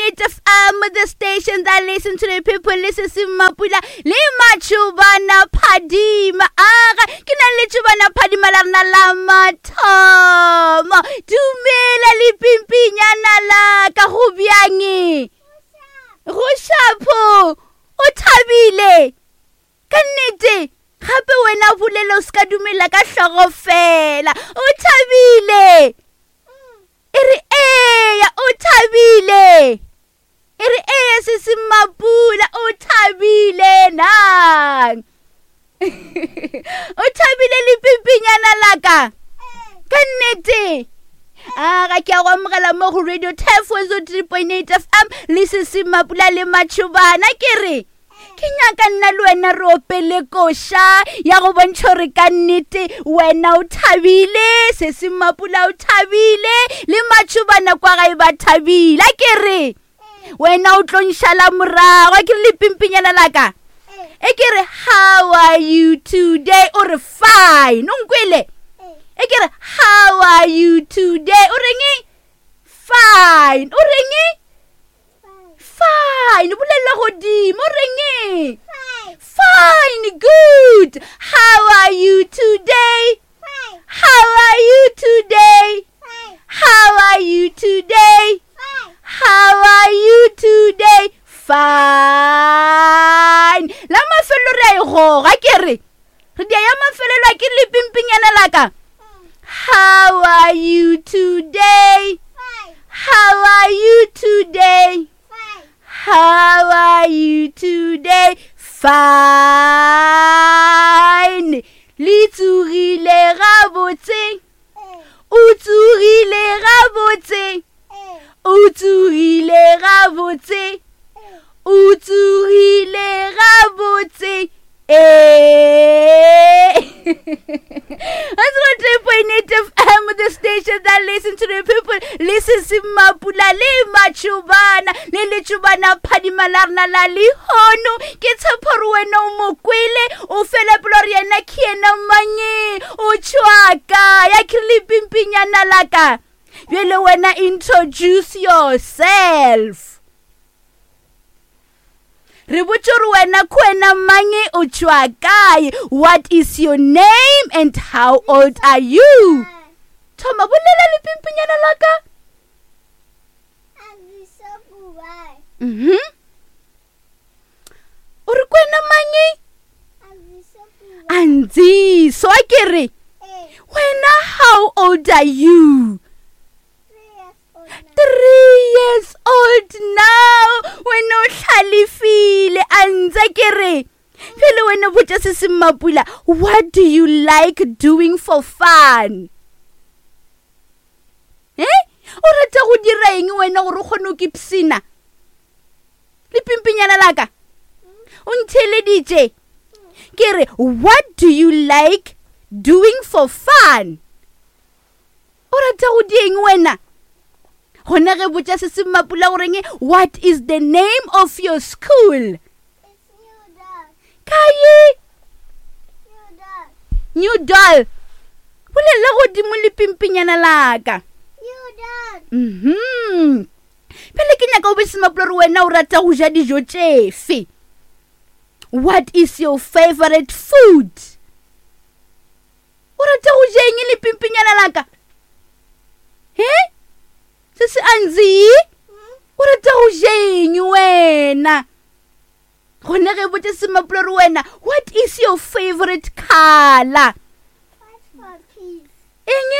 3.8 FM, the station that listen to the people, listen to Mapula, le Machubana Phadima. Aga, ke na le Chubana Phadima la rena la mathomo. Dumela le pimpinyana la ka go bjang? Go shapo. O thabile. Ka nnete, gape wena bolela o se ka dumela ka hlogo fela. O thabile. E re eya, o thabile. E re eya sesi Mapula, o thabile nang. O thabile le pimpinyana la ka. Ka nnete. A ga ke a go amogela mo go Radio Turf 103.8 FM le sesi Mapula le Matšhobana ke re. Ke nyaka nna le wena re opele koša ya go bontšha gore ka nnete wena o thabile, sesi Mapula o thabile, le matšhobana kwa gae ba thabile. A ke re wena o tlo nšala morago, a ke re le pimpinyana la ka. E ke re how are you today? O re fine, o nkwele? E ke re how are you today? O reng? Fine. O reng? Fine. Bolela godimo. O reng? Fine. Good. How are you today? Fine. How are you today? Fine. How are you today? Fine. How are you today? Fine. La mafelelo re a e goga ke re. Re dia ya mafelelo a ke le pimpinyana la ka. How are you today? Fine. How are you today? Fine. How are you today? Fine. Le tsogile gabotse. O tsogile gabotse. O tsogile gabotse. O tsogile gabotse. Ee. 103.8 FM, the station that listen to the people. Listen to Mapula le Matšhobana le Letšhobana phadima la rena la lehono. Ke tshepo gore wena o mo kwele, o fela pelo gore yena ke yena mang, o tšwa kae, a ke re le pimpinyana la ka. Bjale wena introduce yourself. Re botše gore wena ke wena mang, o tšwa kae, what is your name and how old are you? Thoma bolela le pimpinyana la ka. O re ke wena mang? Andziso, a ke re wena how old are you? 3 years old now. Wena o hlalefile, a ntse ke re pele wena botša se se Mapula, what do you like doing for fun? O rata go dira eng wena gore o kgone go kipsina? Le pimpinyana la ka o ntheeleditše ke re what do you like doing for fun? O rata go dieng wena? Gona ge botša se se Mapula goreng, what is the name of your school? Kae? New Doll. Bolela godimo le pimpinyana la ka. Pele ke nyaka o be se Mapula gore wena o rata go ja dijo tšefe. What is your favorite food? O rata go ja eng le pimpinyana la ka? He? Se se Anzi? O rata go ja eng wena? Gona ge botša se Mapula gore wena, what is your favorite color? White for peace. Eng?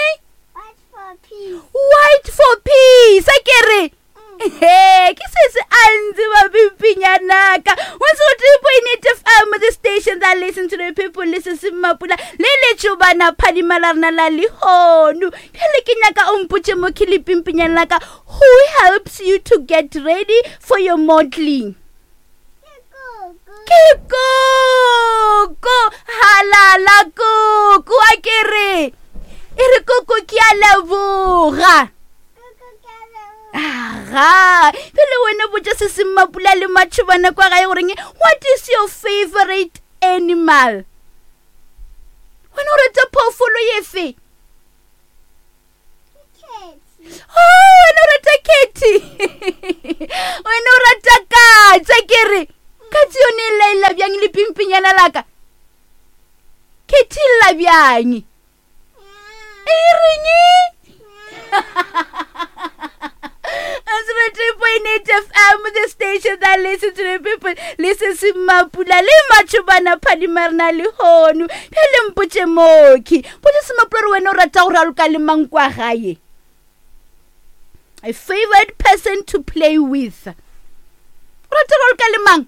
White for peace. White for peace. A ke re? He, ke se se Anzi ba pimpinyana ka. 103.8 FM, the station that listen to the people, listen to Mapula, le Letšhobana phadima la rena la lehono. Bjale ke nyaka o mpotše mo ke le pimpinyana la ka, who helps you to get ready for your modeling? Ke koko. Halala koko, a ke re. E re koko ke a leboga. Aga, pele wena botša se se Mapula le Matšhobana kwa gae goreng, what is your favorite animal? Wena o rata phoofolo efe? Oh, wena o rata Katie. bjang e reng 3.8 FM, the station that listen to the people. Listen to Mapula le Machubana Phadima rena le hono. Phele mpotše moki. Potše se Mapula re wena o rata go raloka le mang kwa gae? A favorite person to play with. O rata go raloka le mang?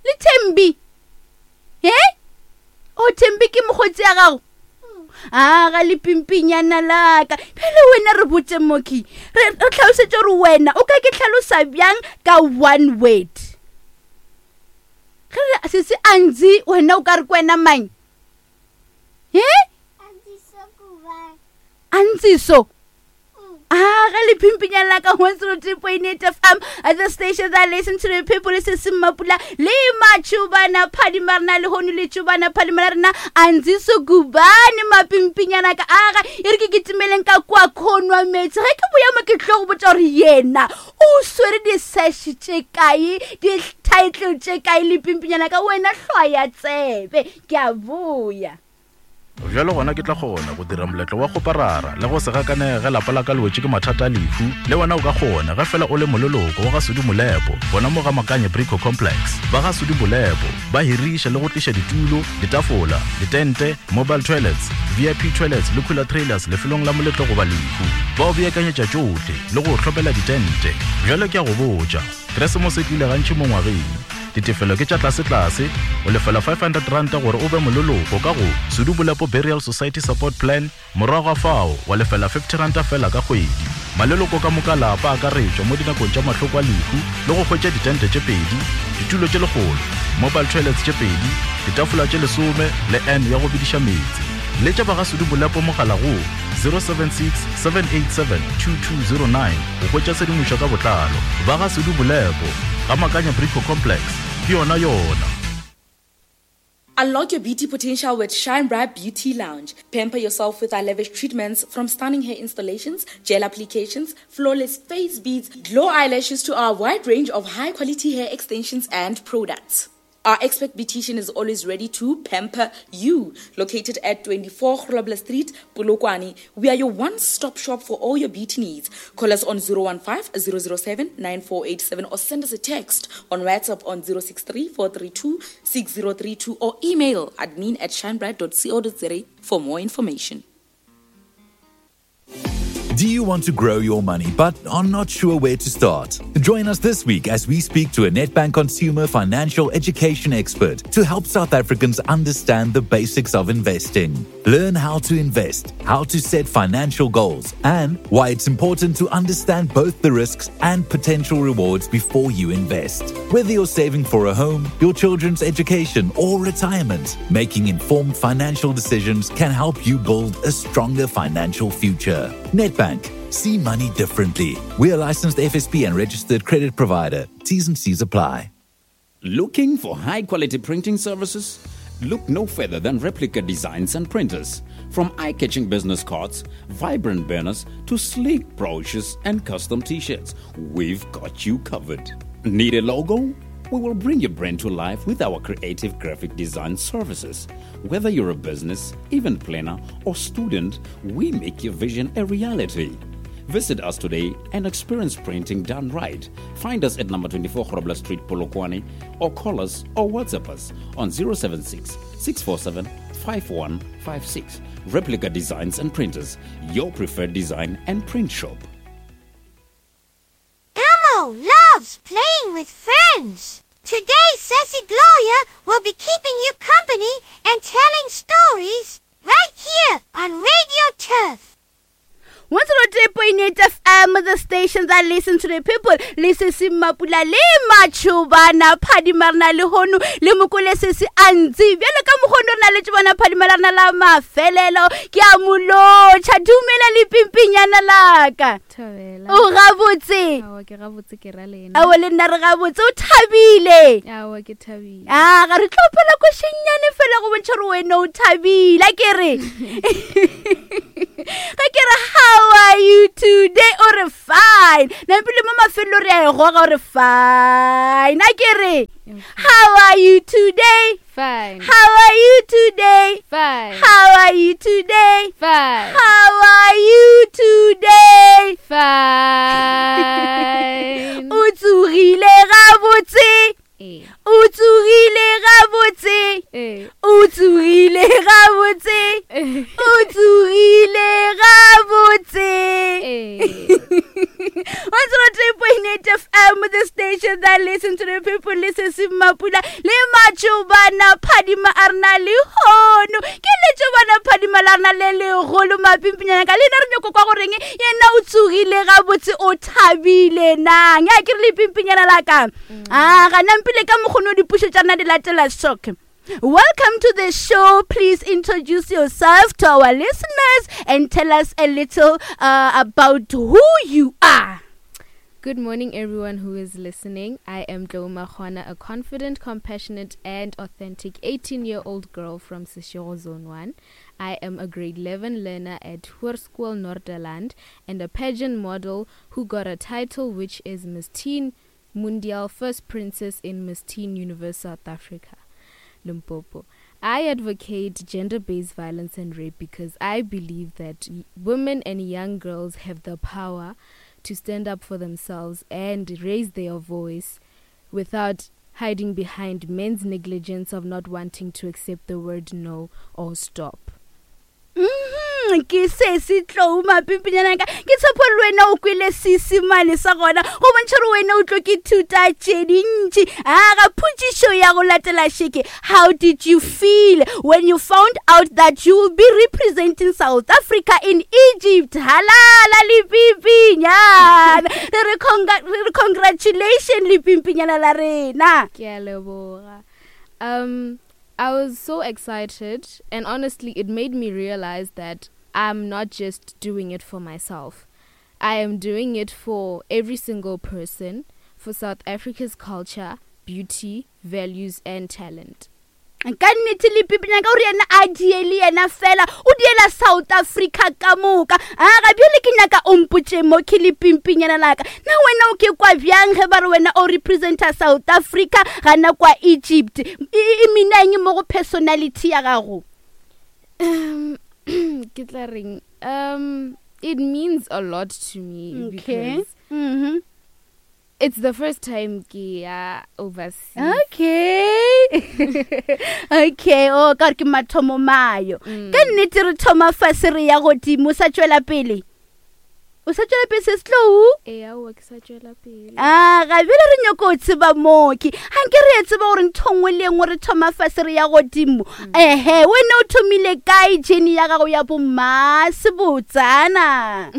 Le Thembi. He? O Thembi ke mokgotsi ya gago? A ga le pimpinyana laka. Phele wena re botse moki. Re re tlhalosetše gore wena o ka ke tlhalosa bjang ka one word. Ge re se se anzi wena o ka re ke wena mang? He? Anziso. Ah, ge le phimpinyana la ka 103.8 FM at the station that listen to the people se se mmapula le matšhubana phadima rena le hono le tšhubana phadima la rena anziso gubane mapimpinyana ka aga e re ke kitimeleng ka kwa khonwa meetse ge ke boya mo ke tlo go botša gore yena o swere di-sash tše kae di-title tše kae le pimpinyana ka wena hlwaya tsebe ke a boya Bjalo gona ke tla kgona go dira moletlo wa kgoparara le go se gakanege ge lapa la ka le wetše ke mathata a lehu. Le wena o ka kgona ge fela o le moleloko wa ga Sudi Molepo gona mo ga Makanye Brico Complex. Ba ga Sudi Molepo ba hiriša le go tliša ditulo, ditafola, ditente, mobile toilets, VIP toilets le cooler trailers lefelong la moletlo goba lehu. Ba o beakanyetša tšohle le go o hlopela ditente. Bjalo ke a go botša, Keresemose e tlile gantši mo ngwageng. Ditefelo ke tša tlasetlase, o lefela R500 gore o be moleloko ka go Sudu Bolepo Burial Society Support Plan, morago ga fao wa lefela R50 feela ka kgwedi. Maleloko ka moka a lapa a akaretšwa mo dinakong tša mahloko a lehu le go hwetša ditente tše pedi, ditulo tše lekgolo, mobile toilets tše pedi, ditafola tše lesome le urn ya go bediša meetse. Letša ba ga Sudu Bolepo mogala go 076 787 2209 go hwetša tshedimošo ka botlalo. Ba ga Sudu Bolepo, ga Makanya Brico Complex, ke yona yona. Unlock your beauty potential with Shine Bright Beauty Lounge. Pamper yourself with our lavish treatments from stunning hair installations, gel applications, flawless face beads, glow eyelashes to our wide range of high quality hair extensions and products. Our expert beautician is always ready to pamper you. Located at 24 Grobler Street, Polokwane, we are your one-stop shop for all your beauty needs. Call us on 015 007 9487 or send us a text on WhatsApp on 063 432 6032 or email admin at shinebright.co.za for more information. Do you want to grow your money but are not sure where to start? Join us this week as we speak to a Nedbank consumer financial education expert to help South Africans understand the basics of investing. Learn how to invest, how to set financial goals, and why it's important to understand both the risks and potential rewards before you invest. Whether you're saving for a home, your children's education, or retirement, making informed financial decisions can help you build a stronger financial future. Nedbank. See money differently. We are licensed FSP and registered credit provider. T's and C's apply. Looking for high quality printing services? Look no further than Replica Designs and Printers. From eye catching business cards, vibrant banners, to sleek brochures and custom t shirts, we've got you covered. Need a logo? We will bring your brand to life with our creative graphic design services. Whether you're a business, event planner, or student, we make your vision a reality. Visit us today and experience printing done right. Find us at number 24 Grobler Street, Polokwane, or call us or WhatsApp us on 076 647 5156. Replica Designs and Printers, your preferred design and print shop. Elmo loves playing with friends. Today, Sassy Gloria will be keeping you company and telling stories right here on Radio Turf. 103.8 FM, the station that listen to the people. Le sesi Mapula le Machubana Phadima rena le hono le mokole sesi a ntse bjalo ka mokgono re na le tšobana Phadima la rena la mafelelo ke a molotšha dumela le pimpinyana laka Thobela. O gabotse. Aowa ke gabotse ke ra lena. Aowa le nna re gabotse o thabile. Aowa ke thabile. A ga re tlo phela košennyane fela go bontšha gore wena o thabile a ke re. Ga ke re how are you today? O re fine. Nampile mo mafelelo re a e goga o re fine. A ke re how are you today? Fine. How are you today? Fine. How are you today? Fine. How are you today? Fine. O tsogile gabotse. Eh. O tsogile gabotse. Eh. O tsogile gabotse. Eh. O tsogile gabotse. Eh. 103.8 FM, the station that listen to the people, listen to Mapula, le Matšobana Phadima a rena lehono. Ke Letšobana Phadima la rena le legolo mapimpinyana ka le nna re nyako kwa goreng yena o tsogile gabotse o thabile nang. Ya ke re lepimpinyana la ka. Ah, gana mpile ka mokgono dipušo tša rena di latela shock. Welcome to the show. Please introduce yourself to our listeners and tell us a little about who you are. Good morning, everyone who is listening. I am Tlou Makgoana, a confident, compassionate, and authentic 18-year-old girl from Seshego Zone 1. I am a grade 11 learner at Hoërskool Noorderland and a pageant model who got a title which is Miss Teen Mundial First Princess in Miss Teen Universe South Africa, Limpopo. I advocate gender-based violence and rape because I believe that women and young girls have the power to stand up for themselves and raise their voice without hiding behind men's negligence of not wanting to accept the word no or stop. Ke se se tlou mapimpinyana ka ke tshepo le wena o kwele seesemane sa gona go bontšha gore wena o tlo ke thuta tše dintši. A ga phutšišo ya go latela šeke, how did you feel when you found out that you will be representing South Africa in Egypt? Halala lepimpinyana. Re re re congratulation lepimpinyana la rena. Ke a leboga. I was so excited, and honestly, it made me realize that I'm not just doing it for myself. I am doing it for every single person, for South Africa's culture, beauty, values, and talent. Ka nnete le pipinyana ka gore yena a diele yena fela, o diela South Africa ka moka. A ga bjale ke nyaka o mpotše mo ke le pimpinyana la ka. Na wena o ke kwa bjang ge ba re wena o representa South Africa gana kwa Egypt? E mina eng mo go personality ya gago? Ke tla reng? It means a lot to me because it's the first time ke ya overseas. Okay. Okay, oh, ka gore ke mathomo mayo. Ka nnete re thoma fase re ya godimo, o sa tšwela pele? O sa tšwela pele se setlou? Ee, aowa, ke sa tšwela pele. A ga bjale re nyako o tseba mooki. Ga nke re e tseba gore ntho nngwe le nngwe re thoma fase re ya godimo. Ehe, wena o thomile kae journey ya gago ya bo mmasebotsana?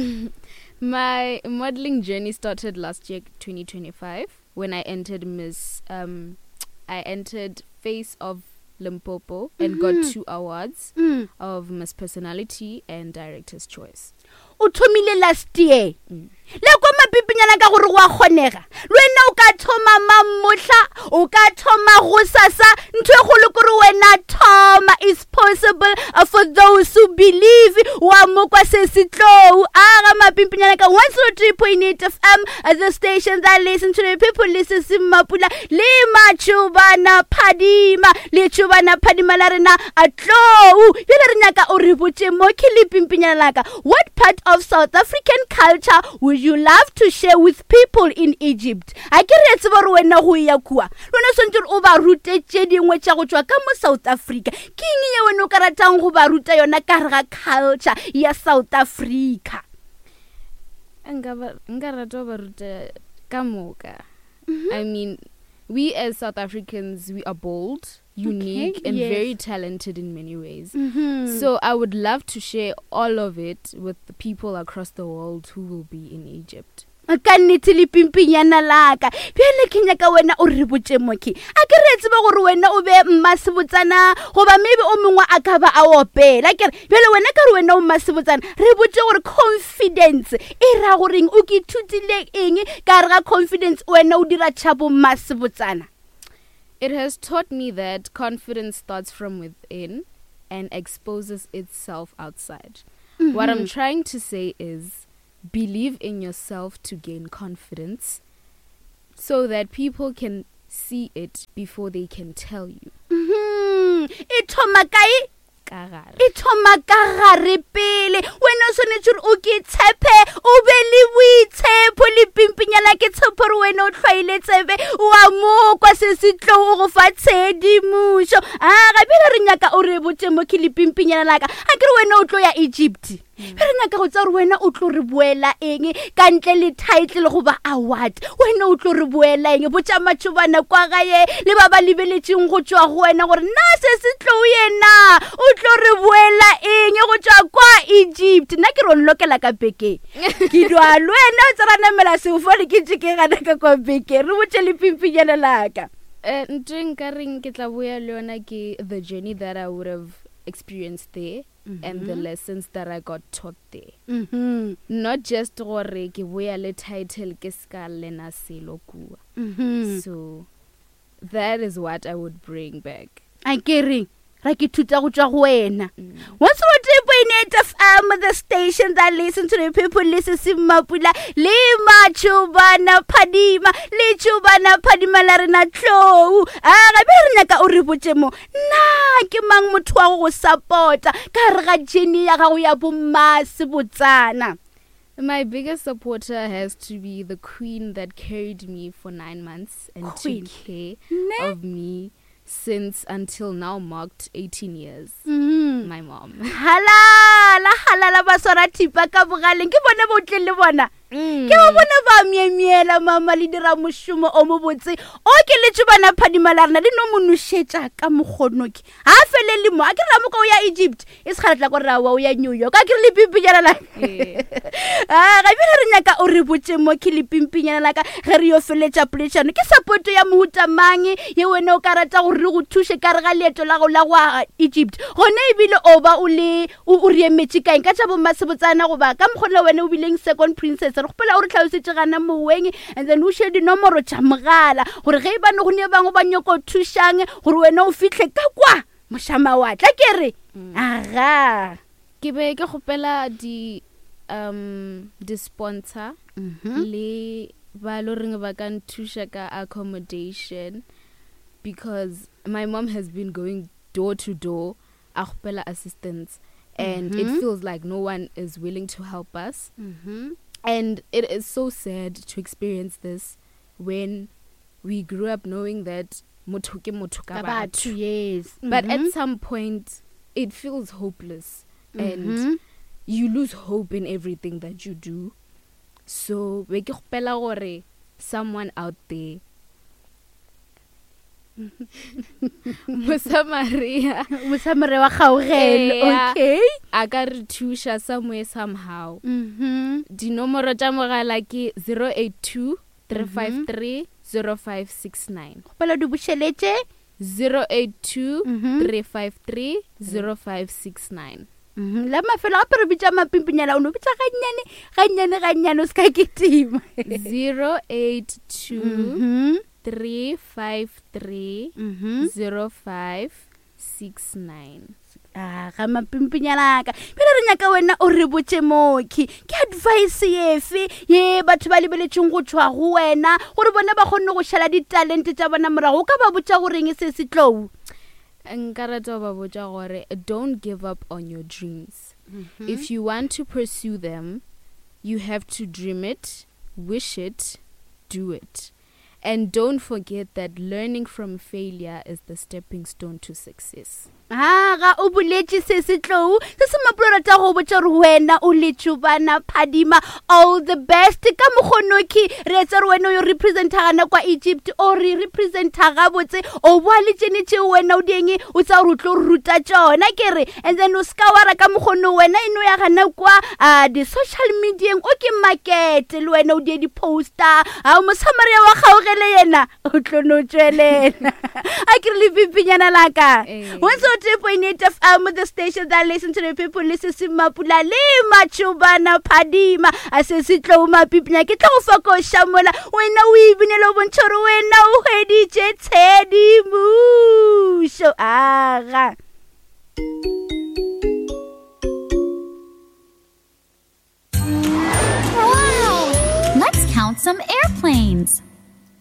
My modeling journey started last year, 2025, when I entered Miss, I entered Face of Limpopo and got 2 awards of Miss Personality and Director's Choice. O thomile last year. Le kwa mapipinyana ka gore go a kgonega. Le wena o ka thoma mamohla, o ka thoma gosasa, ntho e kgolo ke gore wena thoma. It's possible for those who believe. Wa mo kwa se se tlou. A ga mapimpinyana ka 103.8 FM, the station that listen to the people, listen to Mapula, le Matšobana Phadima, le Tšobana Phadima la rena a tlou. Bjale re nyaka o re botše mo ke lepimpinyana la ka. What part of South African culture would you love to share with people in Egypt? A ke re tsebe gore wena go ya kua. Le wena o swantse gore o ba rute tše dingwe tša go tšwa ka mo South Africa. Ke eng ye wena o ka ratang go ba ruta yona ka gare ga culture ya South Africa? Nka rata go ba ruta ka moka. We as South Africans, we are bold, unique, and very talented in many ways. So I would love to share all of it with the people across the world who will be in Egypt. Ka nnete le pimpinyana la ka. Bjale ke nyaka wena o re botše moki. A ke re tsebe gore wena o be mmasebotsana goba maybe o mongwe a ka ba a opela. Ke re bjale wena ka re wena o mmasebotsana, re botše gore confidence e ra goreng, o ke ithutile eng ka gare ga confidence wena o dira tšhabo mmasebotsana? It has taught me that confidence starts from within and exposes itself outside. What I'm trying to say is Believe in yourself to gain confidence so that people can see it before they can tell you. Mhm. E thoma kae? Ka gare. E thoma ka gare pele. Wena o swanetše gore o ke tshepe, o be le boitshepo le pimpinyana ke tshepo gore wena o hlwaile tsebe wa mo kwa se se tlo o go fa tshedimošo. A ga bjale re nyaka o re botše mo ke le pimpinyana laka. A ke re wena o tlo ya Egypt. Be re nyaka go tseba gore wena o tlo re boela eng ka ntle le title goba award. Wena o tlo re boela eng? Botša matšhobana kwa gae le ba ba lebeletšeng go tšwa go wena gore na se se tlo yena o tlo re boela eng go tšwa kwa Egypt. Nna ke re o nlokela ka bekeng. Ke dwa le wena o tsera namela sefofane ke tše ke gana ka kwa bekeng. Re botše le pimpinyana laka. Ntho e nka reng ke tla boya le yona ke the journey that I would have experienced there. And the lessons that I got taught there. Not just gore ke boya le title ke ska lena selo kua. So that is what I would bring back. A ke reng ra ke thuta go tšwa go wena. 103.8 FM, the station that listen to the people, listen se Mapula le Matšhobana Phadima le Tšhobana Phadima la rena tlou. A gape re nyaka o re botše mo Na ke mang motho wa go go support-a ka gare ga journey ya gago ya bommasebotsana? My biggest supporter has to be the queen that carried me for 9 months and Queen. took care Ne? of me since until now marked 18 years. My mom. Halala, halala ba swara thipa ka bogaleng. Ke bona ba o tleng le bona. Ke ba bona ba myemyela mama le dira mošomo o mobotse o ke letše bana phadima la rena le no mo nošetša ka mokgonoke ga a felele mo a ke re ramoka o ya Egypt e se kgale tla ko rawa o ya New York a ke re lepimpinyana la a ga bjale re nyaka o re botše mo ke lepimpinyana la ka ge re yo feletša poledišano ke support ya mohuta mang ye wena o ka rata gore re go thuše ka re ga leeto la go la go Egypt gona ebile o ba o le O, o re emetše kaeng ka tša bommasebotsana goba ka mokgwa le wena o bileng second princess? Re kgopela o re tlhalosetše gana moweng and then o šie dinomoro tša mogala gore ge e bane go ne bangwe ba nyoko thušang gore wena o fihle ka kwa mošamawatle. A ke re aga. Ke be ke kgopela di um di-sponsor le ba lo reng ba ka nthuša ka accommodation because my mom has been going door to door a kgopela assistance and mm -hmm. it mm-hmm. feels like no one is willing to help us mm -hmm. and it is so sad to experience this when we grew up knowing that motho ke motho ka batho yes but mm -hmm. at mm-hmm. some point it feels hopeless mm -hmm. and mm-hmm. you lose hope in everything that you do so be ke kgopela gore someone out there Mosamaria Mosamaria wa kgaogelo okay a ka re thuša somewhere somehow dinomoro tša mogala ke 082 353 0569 kgopela di bušeletše 082 353 0569 La mafelo gape re bitša mapimpinyana o no bitša gannyane gannyane gannyane o se ka kitima 082 353 05 69 a ga mapimpinyanaka pele re nyaka wena o re botše mokhi ke advice efe ye batho ba lebeletšeng go tšwa go wena gore bona ba kgonne go šala ditalente tša bona morago o ka ba botša goreng se se tlou nka rata go ba botša gore don't give up on your dreams if you want to pursue them you have to dream it wish it do it And don't forget that learning from failure is the stepping stone to success. Ha ga o boletše se se tlou se se mapolo rata go botša gore wena o letšobana phadima all the best ka mokgonoki re etsa gore wena o yo representa gana kwa Egypt o re representa gabotse o boa le tšene tšeo wena o dieng o tsa gore o tlo ruta tšona ke re and then o ska wara ka mokgono wena e no ya gana kwa a di-social medieng o ke market le wena o die di-poster a mosamaria wa kgaogele yena o tlo no tšwelela a ke re lepipinyana la ka 102.8 fm the station that listen to the people le se se mapula le matšobana phadima a se se tlo mapipinya ke tlo go fa koša mola wena o ebinele o bontšha gore wena o hweditše tshedimošo aga count some airplanes.